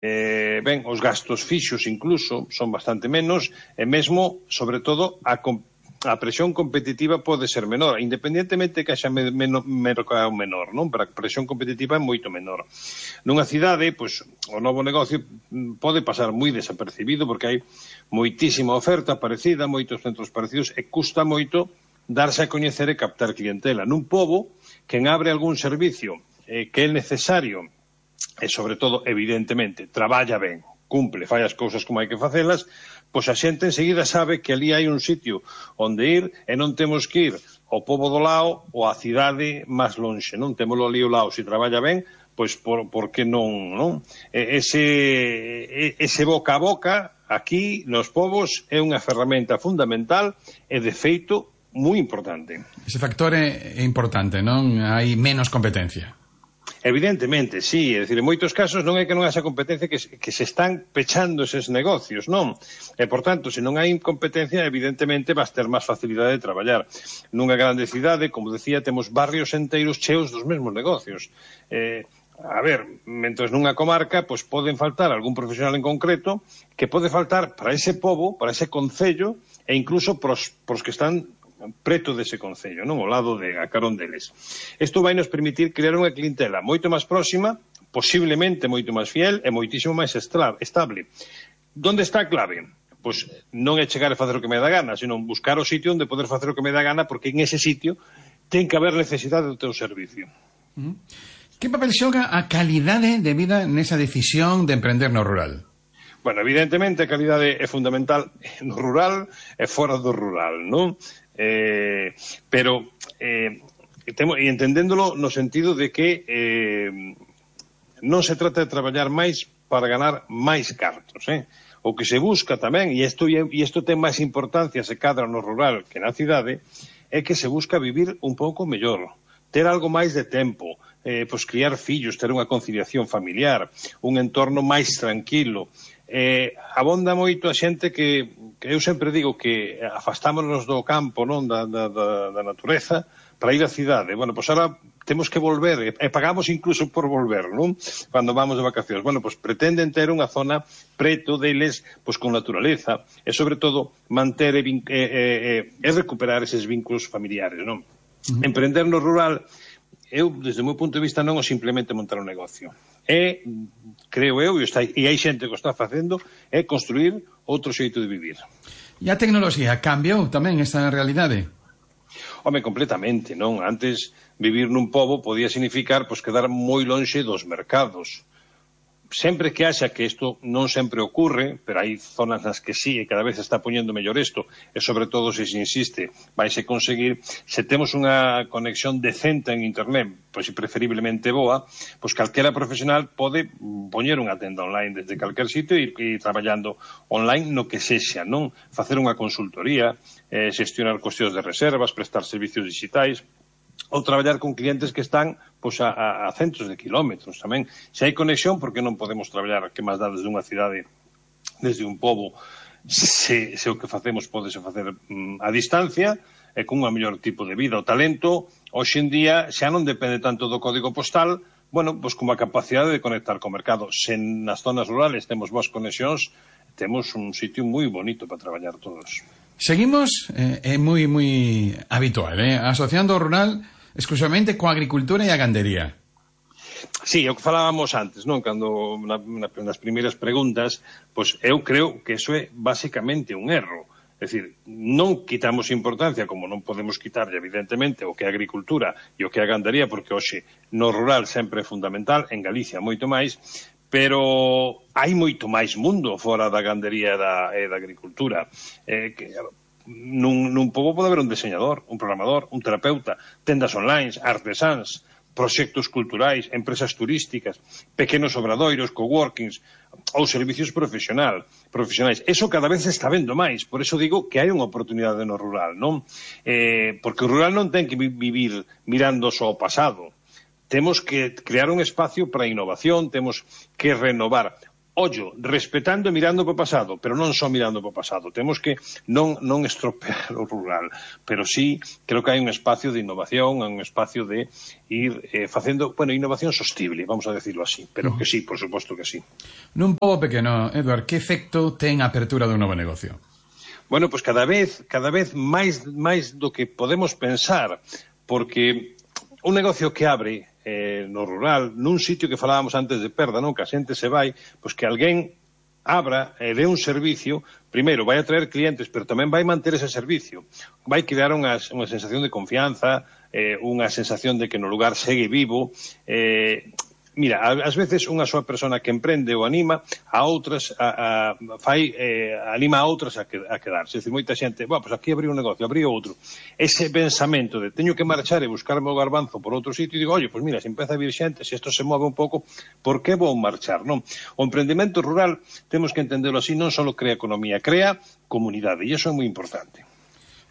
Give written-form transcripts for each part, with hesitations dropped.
Ben, os gastos fixos incluso son bastante menos, e mesmo, sobre todo, a presión competitiva pode ser menor, independentemente que haxa mercado menor, non? Pero a presión competitiva é moito menor. Nunha cidade, pois, o novo negocio pode pasar moi desapercibido porque hai moitísima oferta parecida, moitos centros parecidos, e custa moito darse a coñecer e captar clientela. Nun pobo, quen abre algún servicio que é necesario e, sobre todo, evidentemente, traballa ben, cumple, fai as cousas como hai que facelas, pois a xente enseguida sabe que ali hai un sitio onde ir e non temos que ir ao pobo do lado ou á cidade máis lonxe, non? Témolo ali ao lado, se traballa ben, pois por que non? Ese boca a boca, aquí, nos pobos, é unha ferramenta fundamental e, de feito, moi importante. Ese factor é importante, non? Hai menos competencia. Evidentemente, sí, é dicir, en moitos casos non é que non haxa competencia, que se están pechando eses negocios, non? E, por tanto, se non hai competencia, evidentemente vas ter máis facilidade de traballar. Nunha grande cidade, como decía, temos barrios enteiros cheos dos mesmos negocios. A ver, mentres nunha comarca, pois poden faltar algún profesional en concreto que pode faltar para ese pobo, para ese concello, e incluso pros que están preto dese concello, non? Ao lado a carón deles. Isto vai nos permitir crear unha clientela moito máis próxima, posiblemente moito máis fiel e moitísimo máis estable. Donde está a clave? Pois non é chegar a facer o que me dá gana, sino buscar o sitio onde poder facer o que me dá gana, porque en ese sitio ten que haber necesidade do teu servicio. Que papel xoga a calidade de vida nesa decisión de emprender no rural? Bueno, evidentemente a calidade é fundamental no rural e fora do rural, non? Pero entendéndolo no sentido de que non se trata de traballar máis para ganar máis cartos, o que se busca tamén, e isto ten máis importancia se cadra no rural que na cidade, é que se busca vivir un pouco mellor, ter algo máis de tempo, pois criar fillos, ter unha conciliación familiar, un entorno máis tranquilo. Abonda moito a xente que eu sempre digo que afastámonos do campo, non, da natureza, para ir á cidade. Bueno, pois ahora temos que volver, e pagamos incluso por volver, non? Cando vamos de vacacións. Bueno, pois pretenden ter unha zona preto deles, pois con naturaleza, e sobre todo manter e recuperar eses vínculos familiares, non? Emprender no rural, eu, desde o meu punto de vista, non é simplemente montar un negocio. Creo eu, e hai xente que o está facendo, é construir outro xeito de vivir. E a tecnoloxía cambiou tamén esta realidade? Home, completamente, non? Antes, vivir nun pobo podía significar pois quedar moi lonxe dos mercados. Sempre que haxa, que isto non sempre ocurre, pero hai zonas nas que sí, e cada vez se está poñendo mellor isto, e sobre todo, se insiste, vaise conseguir, se temos unha conexión decente en internet, pois preferiblemente boa, pois calquera profesional pode poñer unha tenda online desde calquer sitio e ir traballando online no que sexa, non? Facer unha consultoría, xestionar cuestións de reservas, prestar servicios digitais, ou traballar con clientes que están pois, a centros de kilómetros tamén. Se hai conexión, porque non podemos traballar que máis dá desde unha cidade, desde un pobo, se o que facemos podese facer a distancia, e con un mellor tipo de vida. O talento, hoxe en día, xa non depende tanto do código postal, bueno, pois como a capacidade de conectar co mercado. Se nas zonas rurales temos boas conexións, temos un sitio moi bonito para traballar todos. Seguimos, é moi habitual, asociando o rural exclusivamente coa agricultura e a gandería. Sí, o que falábamos antes, non? Cando nas primeiras preguntas, pois eu creo que eso é basicamente un erro. É dicir, non quitamos importancia, como non podemos quitarlle, evidentemente, o que é a agricultura e o que é a gandería, porque hoxe no rural sempre é fundamental, en Galicia moito máis, pero hai moito máis mundo fora da gandería e da agricultura. Nun pobo pode haber un diseñador, un programador, un terapeuta, tendas online, artesáns, proxectos culturais, empresas turísticas, pequenos obradoiros, coworkings ou servicios profesionais. Eso cada vez se está vendo máis, por eso digo que hai unha oportunidade no rural, non? Porque o rural non ten que vivir mirando só o pasado. Temos que crear un espacio para a innovación, temos que renovar. ollo, respetando e mirando para o pasado, pero non só mirando para o pasado. Temos que non estropear o rural, pero sí creo que hai un espacio de innovación, un espacio de ir facendo, innovación sostible, vamos a decirlo así, pero que sí, por suposto que sí. Nun pobo pequeno, Edward, que efecto ten a apertura dun novo negocio? Bueno, pues cada vez máis do que podemos pensar, porque un negocio que abre no rural, nun sitio que falábamos antes de perda, non? Que a xente se vai, pois que alguén abra e dé un servicio, primeiro vai a traer clientes, pero tamén vai manter ese servicio, vai crear unha sensación de confianza, unha sensación de que no lugar segue vivo. Mira, ás veces unha soa persona que emprende ou anima a outras, anima a outras a quedarse. É dicir, moita xente, pois aquí abrí un negocio, abrí outro. Ese pensamento de teño que marchar e buscarme o garbanzo por outro sitio, e digo, oye, pois mira, se empeza a vir xente, se isto se move un pouco, por que vou marchar, non? O emprendemento rural, temos que entenderlo así, non só crea economía, crea comunidade, e iso é moi importante.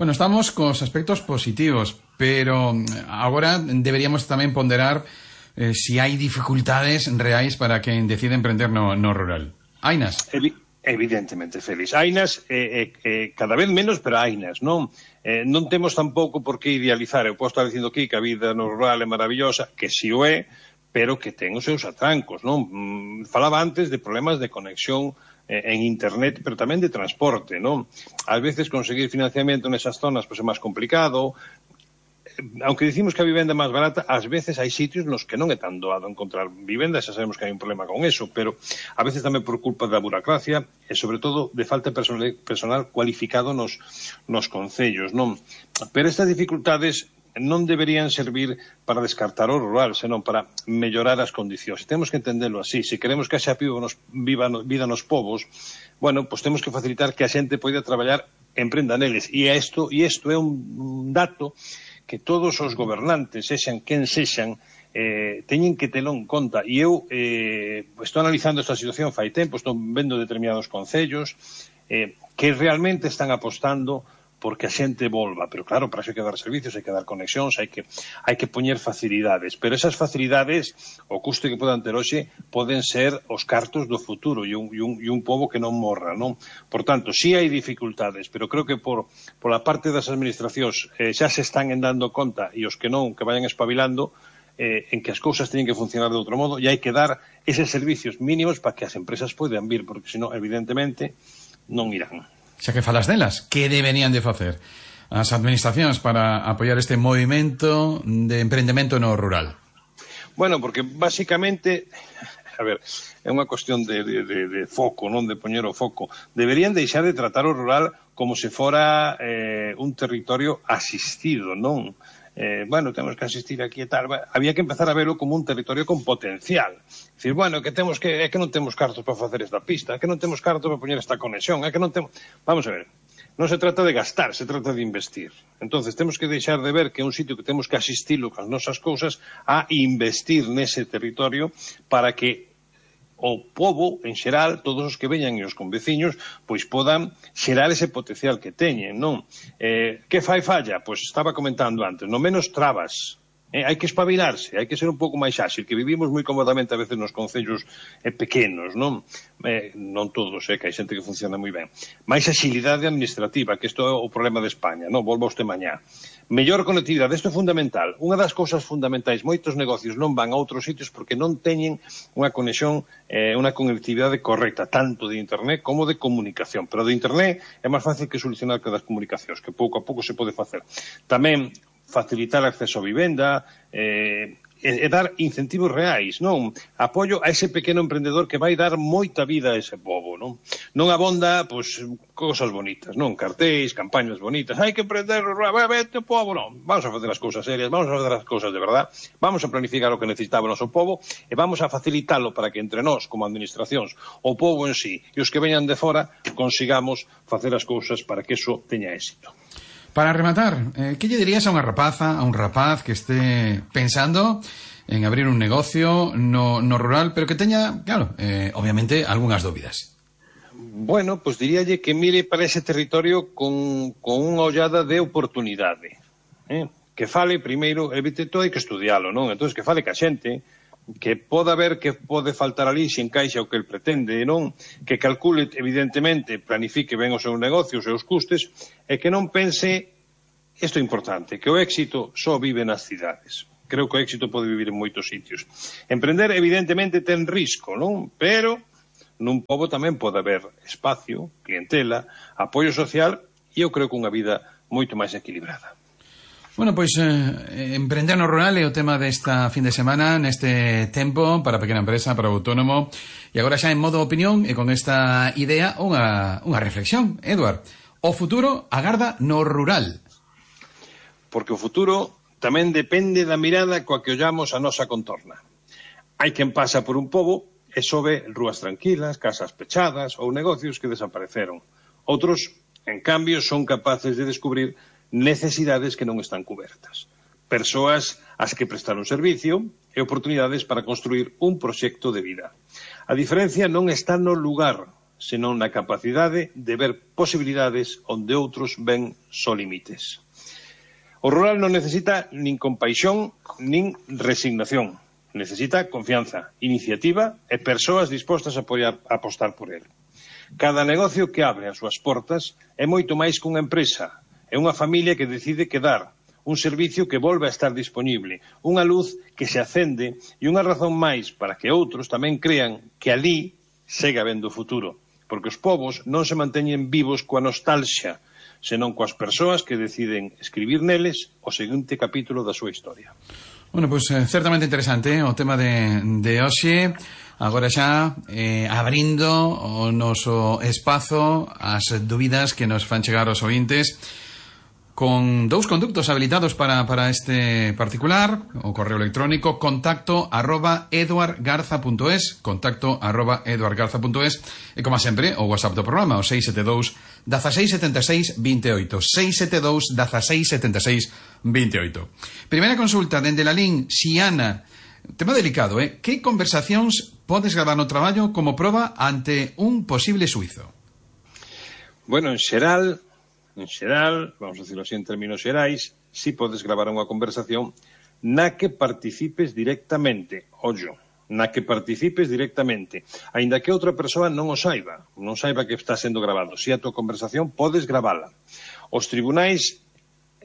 Bueno, estamos cos aspectos positivos, pero agora deberíamos tamén ponderar si hai dificultades reais para quen decide emprender no rural. Hainas? Evidentemente, Félix. Hainas, cada vez menos, pero hainas, non? Non temos tampouco por que idealizar. Eu posso estar dicindo aquí que a vida no rural é maravillosa, que si o é, pero que ten os seus atrancos, non? Falaba antes de problemas de conexión en internet, pero tamén de transporte, non? Ás veces conseguir financiamento nesas zonas pois é máis complicado. Aunque dicimos que a vivenda é máis barata, ás veces hai sitios nos que non é tan doado encontrar vivenda, xa sabemos que hai un problema con eso, pero a veces tamén por culpa da burocracia e, sobre todo, de falta de personal cualificado nos concellos, non? Pero estas dificultades non deberían servir para descartar o rural, senón para mellorar as condicións. Temos que entenderlo así. Se queremos que haxa vida nos povos, bueno, pues temos que facilitar que a xente poida traballar e emprenda neles. E isto é un dato que todos os gobernantes, sexan quen sexan, teñen que telo en conta. E eu estou analizando esta situación fai tempo, estou vendo determinados concellos que realmente están apostando porque a xente volva, pero claro, para iso hai que dar servicios, hai que dar conexións, hai que poñer facilidades, pero esas facilidades, o custo que podan ter hoxe, poden ser os cartos do futuro e un pobo que non morra, non? Por tanto, sí hai dificultades, pero creo que por a parte das administracións xa se están dando conta, e os que non, que vayan espabilando, en que as cousas teñen que funcionar de outro modo, e hai que dar eses servicios mínimos para que as empresas poidan vir, porque senón, evidentemente, non irán. Xa que falas delas, que deberían de facer as administracións para apoiar este movimento de emprendemento no rural? Bueno, porque basicamente, a ver, é unha cuestión de foco, non de poñer o foco. Deberían deixar de tratar o rural como se fora un territorio asistido, non? Bueno, temos que asistir aquí e tal. Había que empezar a verlo como un territorio con potencial. Dicir, bueno, é que non temos cartos para facer esta pista, é que non temos cartos para poñer esta conexión, é que non temos... Vamos a ver, non se trata de gastar, se trata de investir. Entonces, temos que deixar de ver que é un sitio que temos que asistilo con as nosas cousas a investir nese territorio para que o pobo, en xeral, todos os que veñan e os conveciños, pois podan xerar ese potencial que teñen, non? Que fai falla? Pois estaba comentando antes, no menos trabas. Hai que espabilarse, hai que ser un pouco máis áxil, que vivimos moi cómodamente a veces nos concellos pequenos, non? Non todos, que hai xente que funciona moi ben. Mais axilidade administrativa, que isto é o problema de España, non? Volvo a usted mañá. Mellor conectividade, isto é fundamental. Unha das cousas fundamentais, moitos negocios non van a outros sitios porque non teñen unha conexión, unha conectividade correcta, tanto de internet como de comunicación. Pero de internet é máis fácil que solucionar que das comunicacións, que pouco a pouco se pode facer. Tamén facilitar acceso a vivenda, e dar incentivos reais, non? Apoio a ese pequeno emprendedor que vai dar moita vida a ese pobo, non? Non abonda, pois, cousas bonitas, non? Cartéis, campañas bonitas, hai que emprender, vete o pobo, non? Vamos a facer as cousas serias, vamos a facer as cousas de verdad, vamos a planificar o que necesitaba o noso pobo e vamos a facilitalo para que entre nós, como administracións, o pobo en sí e os que veñan de fora, consigamos facer as cousas para que eso teña éxito. Para rematar, que lle dirías a unha rapaza, a un rapaz que este pensando en abrir un negocio no rural, pero que teña, claro, obviamente, algunhas dúbidas? Bueno, pues diríalle que mire para ese territorio con unha ollada de oportunidade. Que fale primeiro, evite todo, hai que estudialo, non? Entón, que fale ca xente, que poda ver que pode faltar ali se encaixa o que el pretende, non? Que calcule, evidentemente, planifique ben o seu negocio, os seus custes, e que non pense, isto é importante, que o éxito só vive nas cidades. Creo que o éxito pode vivir en moitos sitios. Emprender, evidentemente, ten risco, non? Pero nun pobo tamén pode haber espacio, clientela, apoio social e eu creo que unha vida moito máis equilibrada. Bueno, pois emprender no rural é o tema desta fin de semana, neste tempo para a pequena empresa, para o autónomo. E agora xa en modo opinión e con esta idea unha reflexión. Eduard, o futuro agarda no rural. Porque o futuro tamén depende da mirada coa que ollamos a nosa contorna. Hai quen pasa por un pobo e só ve rúas tranquilas, casas pechadas ou negocios que desapareceron. Outros, en cambio, son capaces de descubrir necesidades que non están cubertas. Persoas ás que prestar un servicio e oportunidades para construir un proxecto de vida. A diferencia non está no lugar, senón na capacidade de ver posibilidades onde outros ven só límites. O rural non necesita nin compaixón nin resignación. Necesita confianza, iniciativa e persoas dispostas a apostar por el. Cada negocio que abre as súas portas é moito máis que unha empresa. É unha familia que decide quedar, un servicio que volve a estar disponible, unha luz que se acende e unha razón máis para que outros tamén crean que ali segue habendo futuro. Porque os povos non se manteñen vivos coa nostalgia, senón coas persoas que deciden escribir neles o seguinte capítulo da súa historia. Bueno, pois certamente interesante o tema de hoxe. Agora xa abrindo o noso espazo ás dúbidas que nos fan chegar os ouvintes, con dous conductos habilitados para este particular, o correo electrónico contacto@eduardgarza.es, contacto@eduardgarza.es, e como sempre o WhatsApp do programa, o 672 1676 28, 672 1676 28. Primeira consulta dende la LIN Xiana. Tema delicado, que conversacións podes gravar no traballo como proba ante un posible suizo? Bueno, en xeral, vamos a decirlo así en términos xerais, si podes gravar unha conversación na que participes directamente, aínda que outra persoa non saiba que está sendo grabado. Si a tua conversación podes gravala. Os tribunais,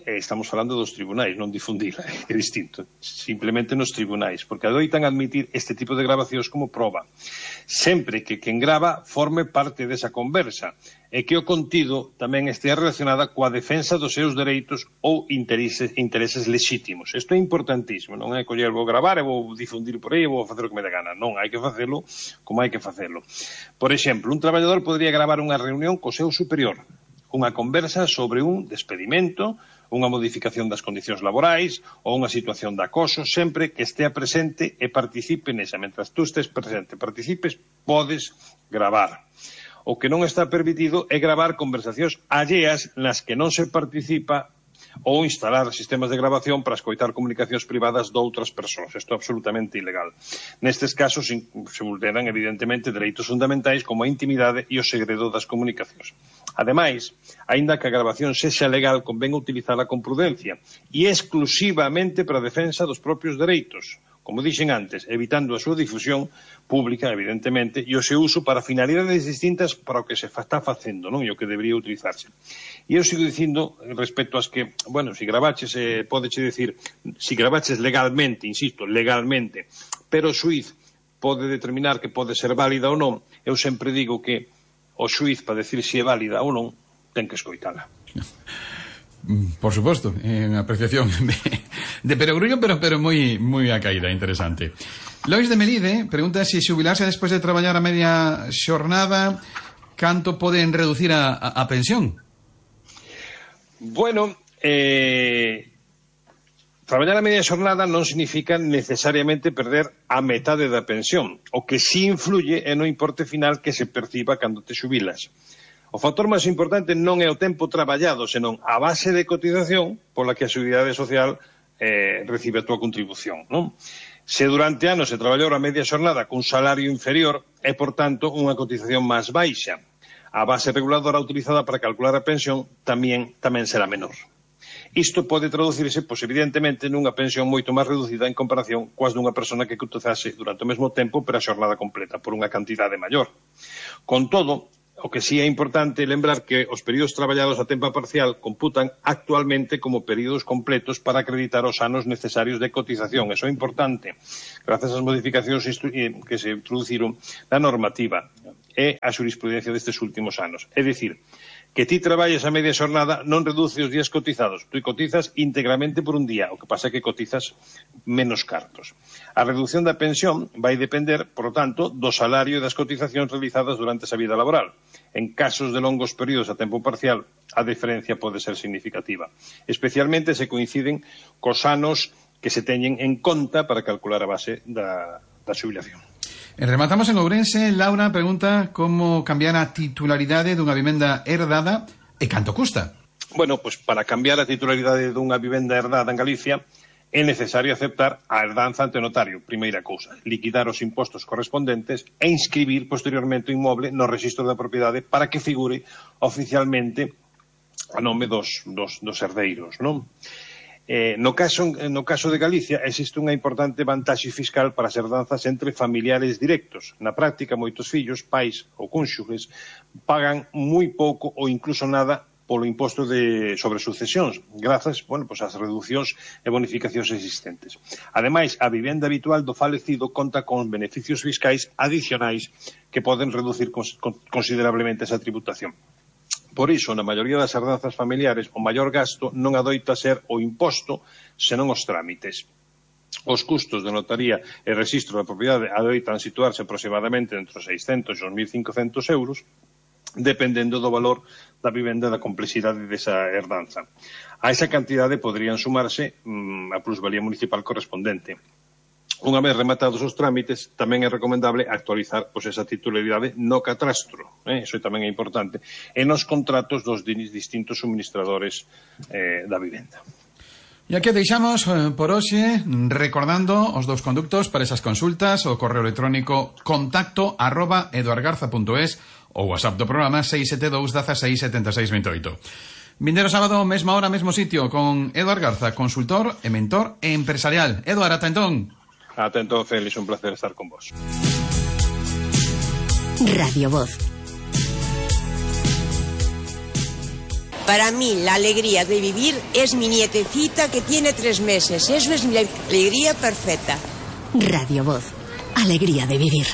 estamos falando dos tribunais, non difundila, é distinto, simplemente nos tribunais, porque adoitan admitir este tipo de grabacións como proba, sempre que quen grava forme parte desa conversa e que o contido tamén estea relacionada coa defensa dos seus dereitos ou intereses lexítimos. Isto é importantísimo, non é coller, vou gravar e vou difundir por aí e vou facer o que me dé gana. Non, hai que facelo como hai que facelo. Por exemplo, un traballador podría gravar unha reunión co seu superior, unha conversa sobre un despedimento, unha modificación das condicións laborais ou unha situación de acoso, sempre que estea presente e participe nesa. Mentras tú estés presente, participes, podes gravar. O que non está permitido é gravar conversacións alleas nas que non se participa ou instalar sistemas de grabación para escoitar comunicacións privadas doutras persoas. Isto é absolutamente ilegal. Nestes casos se vulneran evidentemente dereitos fundamentais como a intimidade e o segredo das comunicacións. Ademais, aínda que a grabación sexa legal, convén utilizala con prudencia e exclusivamente para a defensa dos propios dereitos, como dixen antes, evitando a súa difusión pública, evidentemente, e o seu uso para finalidades distintas para o que se está facendo, non? E o que debería utilizarse. E eu sigo dicindo, respecto ás que, bueno, se gravaches, pódeche decir, se gravaches legalmente, insisto, legalmente, pero o xuiz pode determinar que pode ser válida ou non, eu sempre digo que o xuiz, para decir se é válida ou non, ten que escoitala. Por suposto, unha apreciación de perogrullo, pero moi a caída, interesante. Lois de Melide pregunta se xubilarse despois de traballar a media xornada, canto poden reducir a pensión? Bueno, traballar a media xornada non significa necesariamente perder a metade da pensión. O que sí influye é no importe final que se perciba cando te xubilas. O factor máis importante non é o tempo traballado, senón a base de cotización pola que a Seguridade Social recibe a túa contribución, non? Se durante anos se traballou a media xornada cun salario inferior, é, por tanto, unha cotización máis baixa. A base reguladora utilizada para calcular a pensión tamén será menor. Isto pode traducirse, pois, evidentemente, nunha pensión moito máis reducida en comparación coas dunha persona que cotizase durante o mesmo tempo pero a xornada completa, por unha cantidade maior. Con todo, o que sí é importante lembrar que os períodos traballados a tempo parcial computan actualmente como períodos completos para acreditar os anos necesarios de cotización. Eso é importante, grazas ás modificacións que se introduciron na normativa e a xurisprudencia destes últimos anos. É dicir, que ti traballes a media xornada non reduce os días cotizados. Tú cotizas íntegramente por un día, o que pasa é que cotizas menos cartos. A reducción da pensión vai depender, por lo tanto, do salario e das cotizacións realizadas durante esa vida laboral. En casos de longos períodos a tempo parcial, a diferencia pode ser significativa, especialmente se coinciden cos anos que se teñen en conta para calcular a base da xubilación. Rematamos en Ourense. Laura pregunta como cambiar a titularidade dunha vivenda herdada e canto custa. Bueno, pois para cambiar a titularidade dunha vivenda herdada en Galicia é necesario aceptar a herdanza ante notario, primeira cousa, liquidar os impostos correspondentes e inscribir posteriormente o inmoble no rexistro da propiedade para que figure oficialmente a nome dos herdeiros, non? No caso de Galicia existe unha importante vantaxe fiscal para as herdanzas entre familiares directos. Na práctica, moitos fillos, pais ou cónxuges pagan moi pouco ou incluso nada polo imposto sobre sucesións, grazas, ás reducións e bonificacións existentes. Ademais, a vivenda habitual do falecido conta con beneficios fiscais adicionais que poden reducir considerablemente esa tributación. Por iso, na maioría das herdanzas familiares, o maior gasto non adoita ser o imposto, senón os trámites. Os custos de notaría e rexistro da propiedade adoitan situarse aproximadamente entre os 600 e os 1.500 euros, dependendo do valor da vivenda e da complexidade desa herdanza. A esa cantidade poderían sumarse a plusvalía municipal correspondente. Unha vez rematados os trámites, tamén é recomendable actualizar esa titularidade no catastro, iso tamén é importante, e nos contratos dos distintos suministradores da vivenda. E aquí deixamos por hoxe, recordando os dous conductos para esas consultas, o correo electrónico contacto@eduargarza.es ou WhatsApp do programa 672 16 76 28. Vindeiro sábado, mesma hora, mesmo sitio, con Eduard Garza, consultor e mentor empresarial. Eduard, ata entón. Atento, Félix, un placer estar con vos. Radio Voz. Para mí, la alegría de vivir es mi nietecita que tiene 3 meses. Eso es la alegría perfecta. Radio Voz. Alegría de vivir.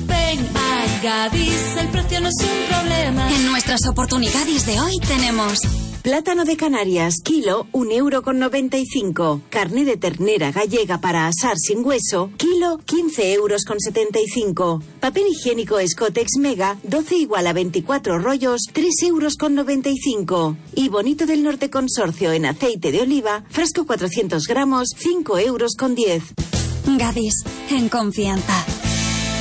Ven a Gadis, el precio no es un problema. En nuestras oportunidades de hoy tenemos plátano de Canarias, kilo, 1,95 €. Carne de ternera gallega para asar sin hueso, kilo, 15,75 €. Papel higiénico Escotex Mega, 12 igual a 24 rollos, 3,95 €. Y Bonito del Norte Consorcio en aceite de oliva, frasco 400 gramos, 5,10 €. Gadis, en confianza.